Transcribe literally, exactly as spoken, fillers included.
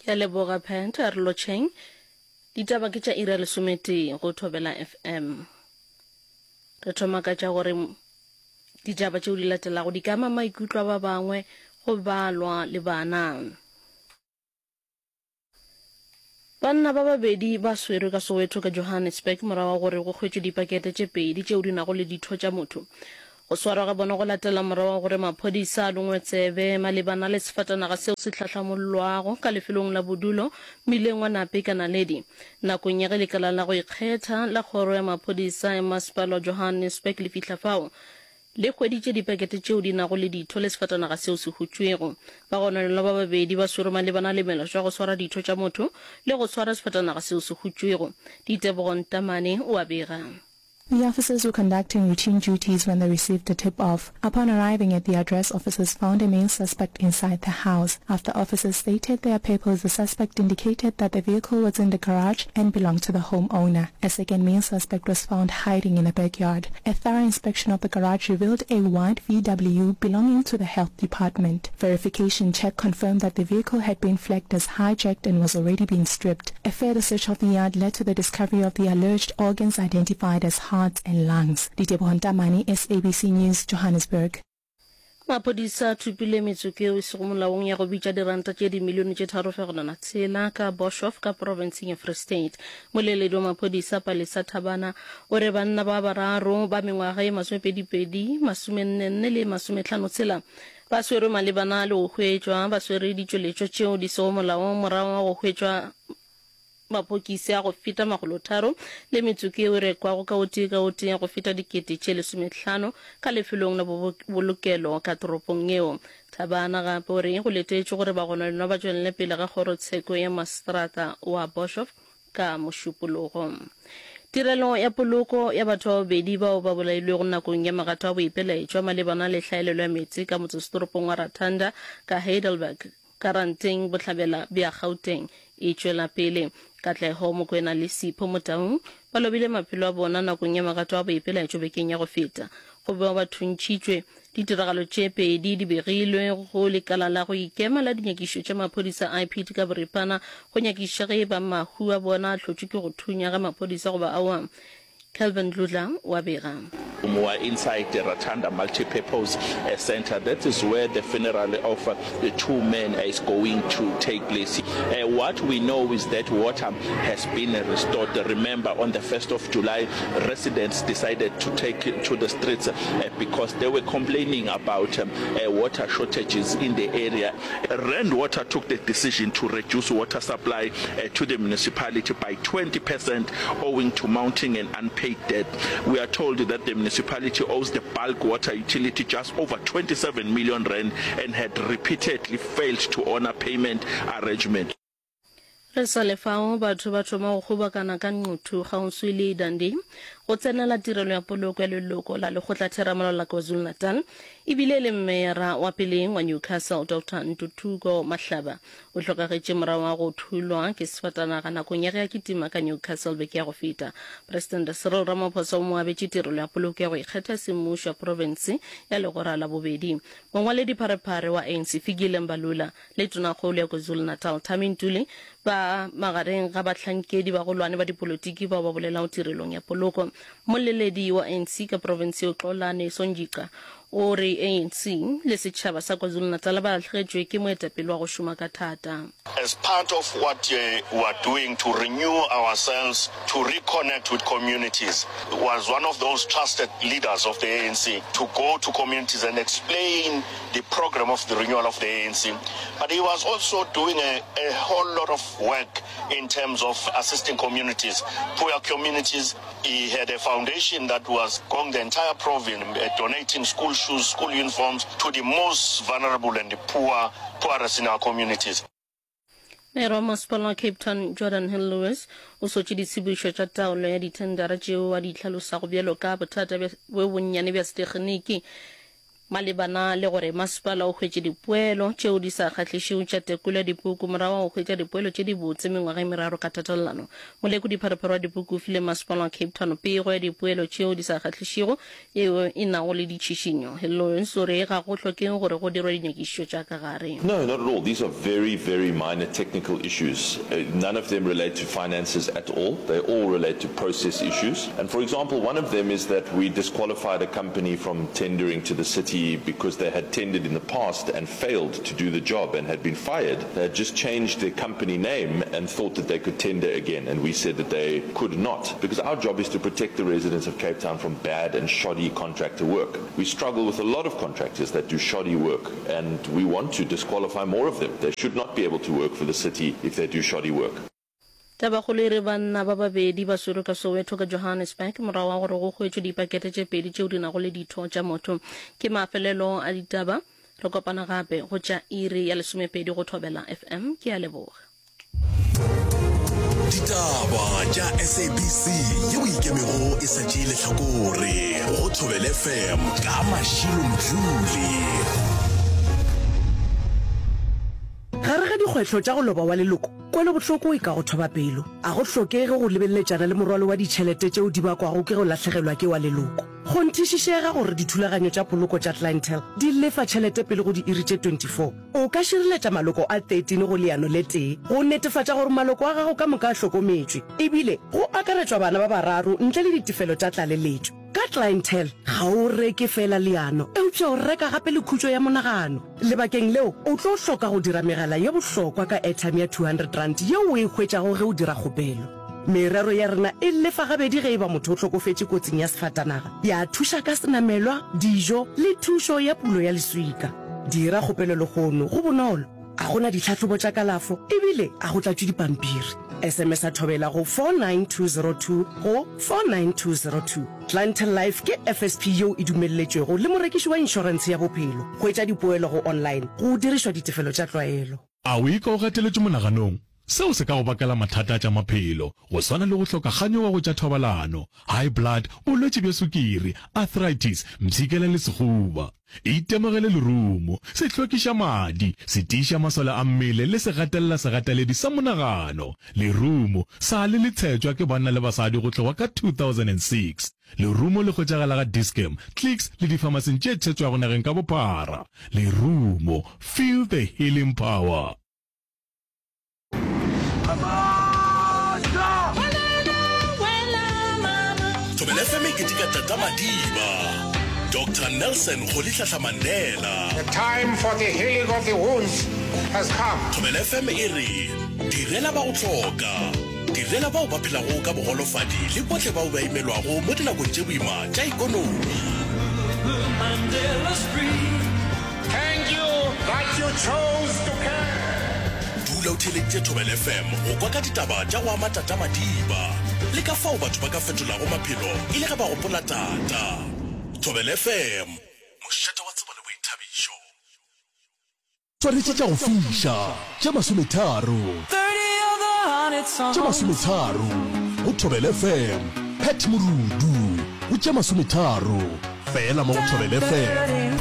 Ke a leboga Pat, a re lotšheng. Ditaba ke tša iri ya lesometee go Thobela FM. Re thoma ka tša gore ditaba tšeo di latelago di ka ama maikutlo a ba bangwe go balwa le bana. Banna ba babedi ba swerwe ka Soweto ka Johannesburg morago ga gore go hwetšwe dipakete tše pedi tšeo di nago le ditho tša motho. Go swarwa ga bona go latela morago ga gore maphodisa a longwe tsebe malebana le sefatanaga seo se hlahlamollwago ka lefelong la bodulo mmileng wa Nape ka Naledi. Nakong ya ge lekala la go ikgetha la kgoro ya maphodisa ya masepala wa Johannesburg le fihla fao, le hweditše dipakete tšeo di nago le ditho le sefatanaga seo se hutšwego. Bagononelwa ba babedi ba swerwe malebana le melato ya go swara ditho tša motho le go swara sefatanaga seo se hutšwego. Ditebogo Ntamane o a bega. The officers were conducting routine duties when they received a tip-off. Upon arriving at the address, officers found a male suspect inside the house. After officers stated their papers, the suspect indicated that the vehicle was in the garage and belonged to the homeowner. A second male suspect was found hiding in the backyard. A thorough inspection of the garage revealed a white V W belonging to the health department. Verification check confirmed that the vehicle had been flagged as hijacked and was already being stripped. A further search of the yard led to the discovery of the alleged organs identified as heart and lungs. Diteboho Ntamane, S A B C News, Johannesburg. Maphodisa a thopile metsoko yeo e sego molaong ya go bitša diranta tše dimilione tše tharo fegelwana tshela ka Boshof ka profenseng ya Free State. Moleledi wa maphodisa Palesa Thabana o re banna ba bararo ba mengwaga ye masomepedipedi, masomennenne le masomehlano tshela ba swerwe malebana le go hwetšwa ba swere ditšweletšwa tšeo di sego molaong morago ga go hwetšwa mapokisi a go feta makgolotharo le metsoko yeo e rekwago ka o tee ka o tee ya go feta dikete tše lesomehlano ka lefelong la bobolokelo ka toropong yeo. Thabana gape o re go letetšwe gore bagononelwa ba tšwelele pele ga kgorotsheko ya maseterata wa Boshof ka Mošupologo. Tirelo ya poloko ya batho ba babedi bao ba bolailwego nakong ya magato a boipelaetšo malebana le hlaelelo ya meetse ka motsesetoropong wa Ratanda ka Heidelberg ka Ranteng bohlabela bja Gauteng e tšwela pele. Katlego Mokoena le Sipho Motaung ba lobile maphelo a bona nakong ya magato a boipelaetšo bekeng ya go feta. Go bewa ba thuntšhitšwe. Ditiragalo tše pedi di begilwe go lekala la go ikema la dinyakišo tša maphodisa I P D ka boripana go nyakišiša ge e ba mahu a bona a hlotšwe ke go thunya ga maphodisa goba aowa. Kelvin Dludla o a bega. We are inside the Ratanda Multi-Purpose Center. That is where the funeral of the two men is going to take place. Uh, what we know is that water has been restored. Remember, on the first of July, residents decided to take to the streets, uh, because they were complaining about, um, uh, water shortages in the area. Rand Water took the decision to reduce water supply, uh, to the municipality by twenty percent owing to mounting and unpaid debt. We are told that the municipality owes the bulk water utility just over twenty-seven million rand and had repeatedly failed to honor payment arrangement. Re sa le fao batho ba thoma go kgobokana ka Nquthu kgauswi le Dundee go tsenela tirelo ya poloko ya leloko la lekgotlatheramolao la KwaZulu-Natal ebile e le mmeyara wa peleng wa Newcastle Doctor Ntuthuko Mahlaba o hlokagetše morago ga go thulwa ke sefatanaga nakong ya ge a kitima ka Newcastle beke ya go feta. Presidente Cyril Ramaphosa o mo abetše tirelo ya poloko ya go ikgetha semmušo ya profense ya legora la bobedi. Mongwaledi pharephare wa A N C Fikile Mbalula le Tonakgolo ya KwaZulu-Natal Thami Ntuli ba magareng ga bahlankedi bagolwane ba dipolotiki bao ba bolelago tirelong ya poloko. Moleledi wa A N C ka profense yeo Xolani Sonjica o re A N C le setšhaba sa KwaZulu-Natal ba lahlegetšwe ke moetapele wa go šoma ka thata. As part of what we are doing to renew ourselves, to reconnect with communities, was one of those trusted leaders of the A N C to go to communities and explain the program of the renewal of the A N C. But he was also doing a, a whole lot of work in terms of assisting communities, poor communities. He had a foundation that was going the entire province, uh, donating school shoes, school uniforms to the most vulnerable and the poor, poorest in our communities. Mayor wa masepala wa Cape Town Geordin Hill Lewis o sotše ditsebišo tša taolo ya dithendara tšeo a di hlalosago bjalo ka bothata bjo bonnyane bja setekginiki. Malebana le gore masepala o hwetše dipoelo tšeo di sa kgahlišego tša tekolo ya dipuku morago ga go hwetša dipoelo tše dibotse mengwaga e meraro ka tatelano, molekodi-pharephare wa dipuku o file masepala wa Cape Town pego ya dipoelo tšeo di sa kgahlišego yeo e nago le ditšhišinyo. Lawrence o re ga go hlokege gore go dirwe dinyakišišo tša ka gare. No, not at all. These are very, very minor technical issues. None of them relate to finances at all. They all relate to process issues. And for example, one of them is that we disqualified a company from tendering to the city because they had tendered in the past and failed to do the job and had been fired. They had just changed their company name and thought that they could tender again, and we said that they could not, because our job is to protect the residents of Cape Town from bad and shoddy contractor work. We struggle with a lot of contractors that do shoddy work, and we want to disqualify more of them. They should not be able to work for the city if they do shoddy work. Tabakgolo e re banna ba babedi ba swerwe ka Soweto ka Johannesburg morago ga gore go hwetšwe dipakete tše pedi tšeo di nago le ditho tša motho. Ke mafelelo a ditaba. Re kopana gape go tša iri ya lesomepedi go Thobela F M. Ke a leboga. Ditaba tša S A B C yeo e ikemego e sa tšee lehlakore go Thobela F M ka Mashilo Mdluli. Gare ga dikgwetlho tša go loba wa leloko, kwelobohloko e ka go thoba pelo. A go hlokege go lebeleletšana le morwalo wa ditšhelete tšeo di bakwago ke go lahlegelwa ke wa leloko. Kgonthišišega gore dithulaganyo tša poloko tša Clientele di lefa tšhelete pele go diiri tše twenty-four. O ka šireletša maloko a thirteen go leano le tee go netefatša gore maloko a gago ka moka a hlokometšwe, ebile go akaretšwa bana ba bararo ntle le ditefelo tša tlaleletšo. Ka Clientele, ga o reke feela leano, eupša o reka gape le khutšo ya monagano. Lebakeng leo, o tlo hloka go dira megala ye bohlokwa ka airtime ya two hundred rand yeo o e hwetšago ge o dira kgopelo. Merero ya rena e lefa gabedi ge e ba motho o hlokofetše kotsing ya sefatanaga, ya thuša ka senamelwa, dijo le thušo ya pulo ya leswika. Dira kgopelo lehono, go bonolo, ga go na ditlhahlobo tša kalafo ebile ga go tlatšwe dipampiri. S M S a Thobela go four nine two zero two go four nine two zero two. Clientele Life ke F S P yeo e dumelletšwego le morekiši wa inšorentshe ya bophelo. Hwetša dipoelo go online go dirišwa ditefelo tša tlwaelo. A o ikwa o gateletšwe monaganong? Seo se ka go bakela mathata a tša maphelo, go swana le go hloka kganyogo go tša thobalano, high blood, bolwetši bja sukiri, arthritis, mpshikela le sehuba. Itemogele lerumo, se hlwekiša madi, se tiiša masole a mmele le se gatelela segateledi sa monagano. Lerumo sa le le tshetšwa ke banna le basadi go tloga ka two thousand and six Lerumo le hwetšagala ga Dis-Chem, Clicks le difamasing tše tshetšwago nageng ka bophara. Lerumo, feel the healing power. Thobela F M e keteka Tata Madiba, Doctor Nelson Rolihlahla Mandela. The time for the healing of the wounds has come. Thobela F M e re direla ba go hloka, direla bao ba phelago ka bogolofadi le bohle bao ba imelwago mo dinakong tše boima tša ekonomi. Thank you that you chose to care. Dula o theeleditše Thobela F M go kwa ka ditaba tša go ama Tata Madiba le ka fao batho ba ka fetolago maphelo e le ge ba gopola Tata. Thobela F M, mošate wa tsebo le boithabišo. Swanetše tša go fiša tše masometharo. Tše masometharo go Thobela F M. Pat Morudu go tše masometharo fela mo go Thobela F M.